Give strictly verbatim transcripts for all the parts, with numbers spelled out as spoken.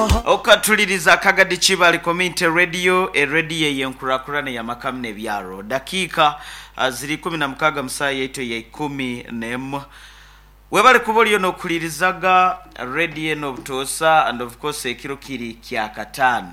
Okatuliriza Kagadi Kibale Community Radio, eradio eyenkurakurana yamakamu n'ebyaro. Dakiika ah, ziri ikumi na mukaaga musaa yaitu ya ikumi n'emu. Webale kuba oliyo n'okulirizaga radio eno obutoosa, and of course ekiro kiri kya kataano.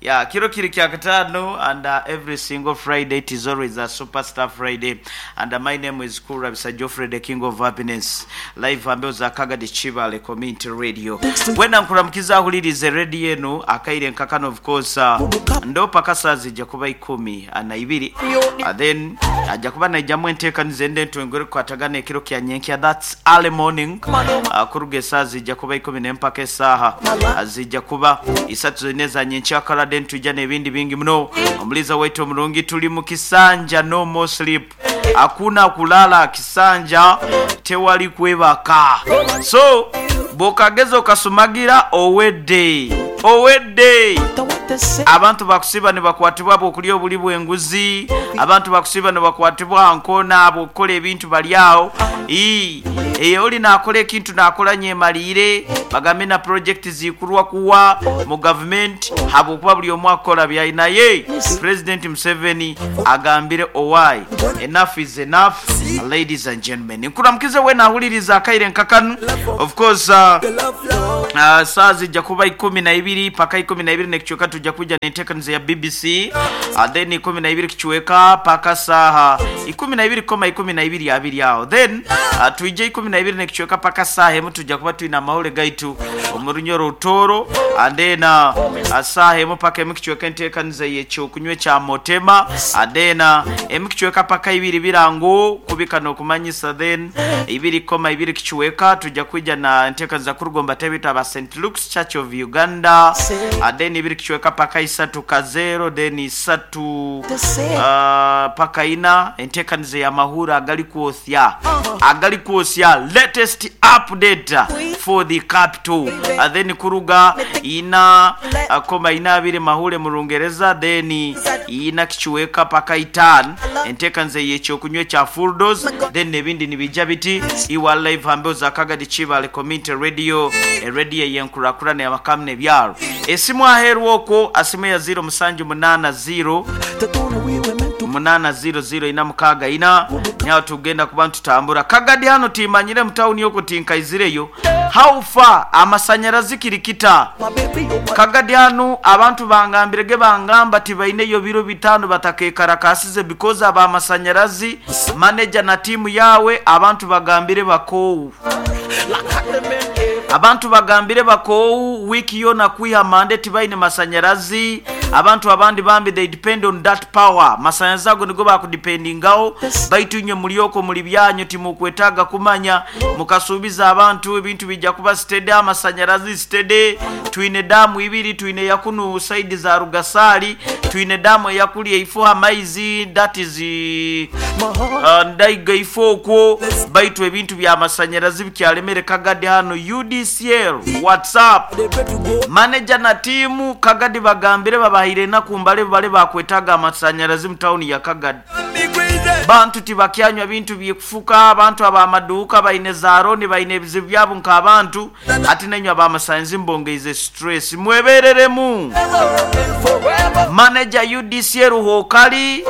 Yeah, kiro kiri kya kataano, and uh, every single Friday it is always a Superstar Friday. And uh, my name is Kura Bisa Geoffrey, the King of Happiness. Live ambeo za Kagadi Kibale Community Radio. Wena nkuramukiza ahulirize radio eno akaire nkakano, of course uh, ndo paka saa zijja kuba ikumi na ibiri. Uh, then ajja kuba naijjamu enteekaniza ende engore kukwatagana ekiro kya nyenkya, that's early morning. Uh, kuruga esaaha zijja kuba ikumi n'empaka esaaha uh, zijja kuba isatu zonna eza nyenkyakala, then tujja n'ebindi bingi muno. Omuliza waitu omurungi, tuli mu kisanja, no more sleep, hakuna kulala, kisanja tewali kwebaka. So bw'okageza okasumagira, owedde, owedde. Abantu bakusiba ne bakwatibwa bwokulya obuli bw'enguzi, abantu bakusiba ne bakwatibwa nkona bw'okukola ebintu bali awo. Ii, eyo oli nakola ekintu nakola nyemaliire, bagambe na project zikulwa kuwa mu gavumenti habwokuba buli omu akola byali. Naye President Museveni agambire owai, enough is enough. Ladies and gentlemen, nkuramukize wena ahuliriza akaire nkakanu. Of course uh, uh, saa zijja kuba ikumi na ibiri paka ikumi na ibiri nekichweka tujja kuja n'enteekaniza ya B B C. uh, then ikumi na ibiri kichweka paka saha ikumi na ibiri koma ikumi na ibiri abiri aho, then uh, tuije ikumi na ibiri nekichweka paka saha emu tujja kuba tulina amawule gaitu omurunyoro rutoro. And then uh, uh, saha emu paka emu kichweka enteekaniza yekyokunywa ekya motema. And then uh, emu kichweka paka ibiri birango kubika n'okumanyisa. Then ibiri koma ibiri kichweka tujja kuija na enteekaniza kurugomba tebita aba Saint Luke's Church of Uganda. uh, then ibiri kichweka paka isatu kazero, then isatu uh, paka ina enteekaniza y'amahura agali kwosya, agali kwosya, latest update for the capital. uh, then kuruga ina uh, koma ina abiri mahure mu Rungereza, then ina kichweka paka itano enteekaniza y'ekyokunywa ekya Fuldos. Then ebindi nibijja biti iwa live hambeo za Kagadi Kibale Community Radio, eradio eyenkurakurana yamakamu n'ebyaro. Esimu aheeru okwo asimu ya zero musanju munaana zero munaana zero zero ina mukaaga ina, nyawo tugenda kuba ntutambura Kagadi hano. Timanyire mu tawuni yoko tinkaizireyo, how far amasanyarazi kirikita Kagadi hano? Abantu bangambirege, bangamba tibaineyo biro bitano batakekarakasize because aba amasanyarazi manager na timu yawe. Abantu bagambire bakoowu, abantu bagambire bakoowu, wiiki yona kwiha mande tibaine masanyarazi. Abantu abandi bambi they depend on that power, masanyarazi ago nigo bakudependingaho. Baitu inywe mulyoko muli byanyu, timukwetaaga kumanya. Mukasuubiza abantu ebintu bijja kuba steady, amasanyarazi steady. Twine damu ibiri, twine yakunu side za Rugasali, twine damu eyakuli eifo amaizi, that is uh, ndaiga ifo okwo. Baitu ebintu byamasanyarazi bikyalemere Kagadi hano. U D C L, what's up? Manager na timu Kagadi bagambire babahire enaku mbale bale bakwetaaga amasanyarazi mu tawuni ya Kagadi. Bantu tibakyanywa bintu byekufuka, abantu abamaduuka baine zaroni, baine ebizibu byabo nk'abantu. Ati nenywe abamasanyizi mbongeize stress, mwebereremu. Manager U D C ruhokali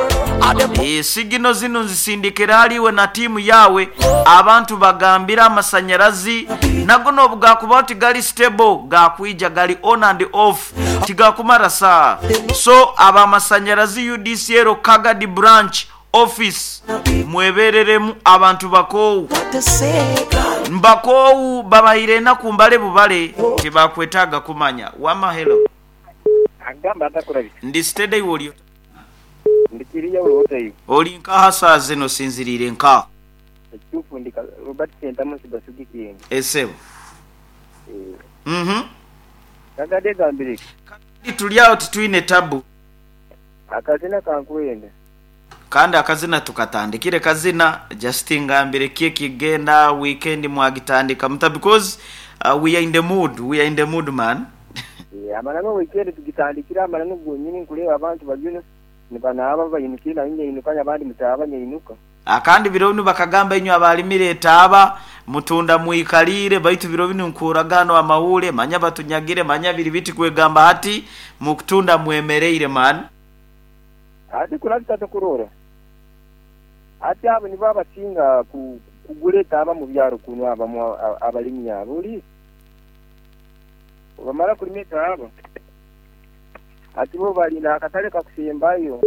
e, sigino zino nzisindikira haliwe na timu yawe. Abantu bagambira amasanyarazi nago nobu gakuba ti gali stable, gakwija gali on and off, tigakumara saa. So abamasanyarazi U D C L Kagadi branch office, mwebereremu, abantu bakoowu, mbakoowu, babahire enaku mbale bubale tibakwetaaga kumanya. Wama hello. Agamba atakurabika. Ndi steady, iwe oli? Ndikiriya ulowooza. Oli nkaha saa zino, sinziriire nkaha? Ekituufu ndi Robert Sentamu Sibasugikenge. Esebo. Mhm kagadde gambireki. Tuli awo, titwine tabu. Akazina kankwenda. Kandi akazina tukatandikire kazina, just ngambire ki ekigenda. Weekend mwagitandika muta? Because uh, we are in the mood, we are in the mood, man. Eh, amananu weekend tugitandikira amananu gonyini, nkuleeba abantu baliyo nibanaaba bayinukire, naye nyeinuka, abandi mutaaba nyeinuka. Akandi biro binu bakagamba inywe abalimire etaaba mutunda mwikalire, baitu biro binu nkuragano amawule manya batunyagire manya biri biti kwegamba hati mukutunda mwemereire man. Ati kulabita tokurora ati abo nibo abasinga ku kugula etaaba mu byaro kuno abamu abalimi abo oli bamara kulima etaaba ati bo balina akatale kakusembayo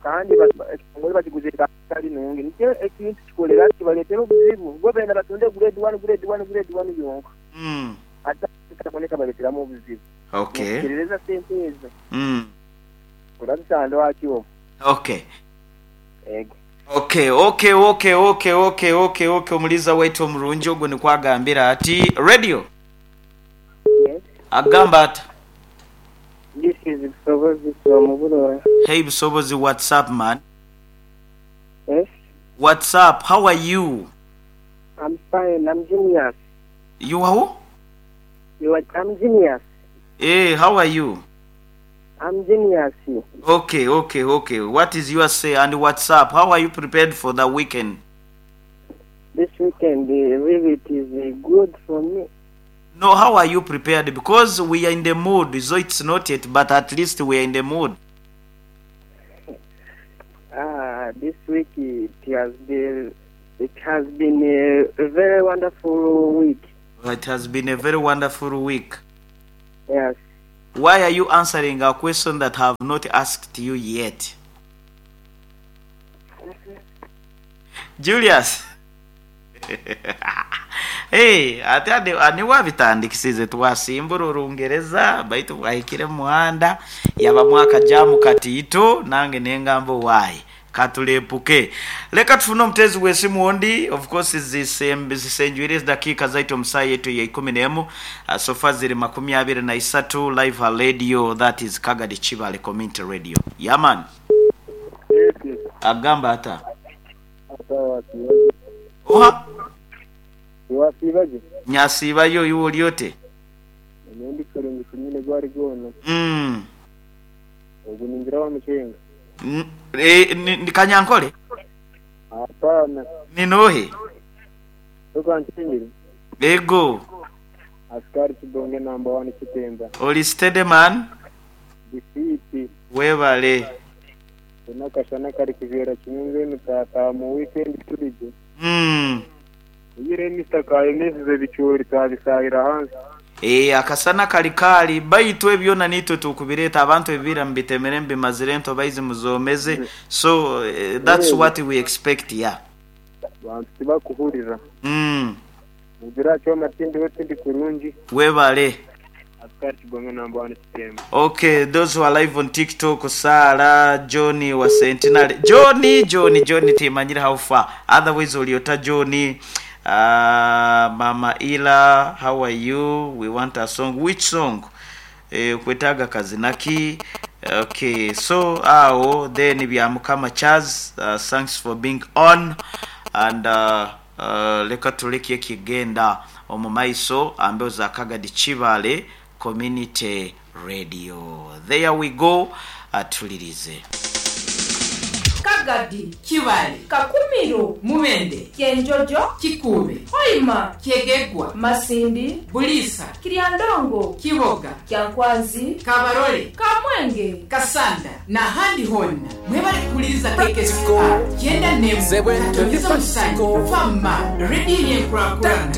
kandi ekitongole bakiguze katale nungi nikyo ekintu kikolera kibaletera obuzibu bo bena batunde grade one grade one grade one yonka mm. Ate kaboneka baleteramu obuzibu. Okay. Kirereza sente ezo. Mm. Kulabisando akyo. Okay. Ego. Okay, okay, okay, okay, okay, okay, okay. Omuliza waitu omurungi ogwo nikwagambira ati radio. Yes. Agamba ati This is Busobozi from Burora. Hey Busobozi, what's up man? Yes. What's up? How are you? I'm fine. I'm genius. You are who? You are, I'm genius. Hey, how are you? I'm genius. Okay, okay, okay. What is your say and what's up? How are you prepared for the weekend? This weekend, uh, really, it is uh, good for me. No, how are you prepared? Because we are in the mood, so it's not yet, but at least we are in the mood. Ah, this week it has been, it has been a, a very wonderful week. It has been a very wonderful week. Yes. Why are you answering a question that I have not asked you yet? Julius. Hey, ate ane wabitandikisize twasimbura orungereza baitu bwahikire muhanda yaba mwaka jamu katiito nange nengambo why katulepuke. Leka tufune omutezi w'esimu ondi, of course zisenjwire dakika zaitu omusayi yetu ya ikumi n'emu, uh, sofa ziri makumi abiri na isatu live radio, that is Kagadi Kibale Community Radio. Yaman. Yes, yes. Agamba ata oha Wasibaje? Nyasibayo iwe olyote. Nendi kurungi kunyine gwari gono. Mm. Ogu ningira wa muchenga. Mm, eh ni, ni Kanyankole? Hapana. Ni nohe? Tuko nchingiri. Ego. Askari Kibonge number one Kitemba. Oli steady man? Difiti. Webale. Tunakashana kari kujera kimwe mutata mu weekend tulije. Mm. Yire Mister Kayemeze bicyori tabisahira hanze. Eh akasana kalikali baitu ebyona nitwe tukubireta abantu ebira mbitemere mbimazire nto baizi muzomeze. So uh, that's yeah. What we expect, yeah. Bantu tibakuhurira. Mm. Mugira cyo matindi wetindi kurungi. Webale. Askari Kibonge number one Kitemba. Okay, those who are live on TikTok, Sara, Johnny wa Sentinel. Johnny, Johnny, Johnny timanyira how far. Otherwise uliota Johnny. Uh, Mama Ila, how are you? We want a song. Which song? Eh, kwetaga kazinaki. Okay, so awo then bya Mukama Charles, uh, thanks for being on and uh, uh, leka tuleke kigenda omumaiso ambeo za Kagadi Kibale Community Radio. There we go. Atulirize. Kagadi Kibale Kakumiro Mubende Kyenjojo Kikube Hoima Kyegegwa Masindi Bulisa Kiryandongo Kiboga Kyankwanzi Kabarole Kamwenge Kasanda na handi honna mwebale kukuliriza K K C R kyenda nemu katonyeza musanju fama radio yenkurakurana.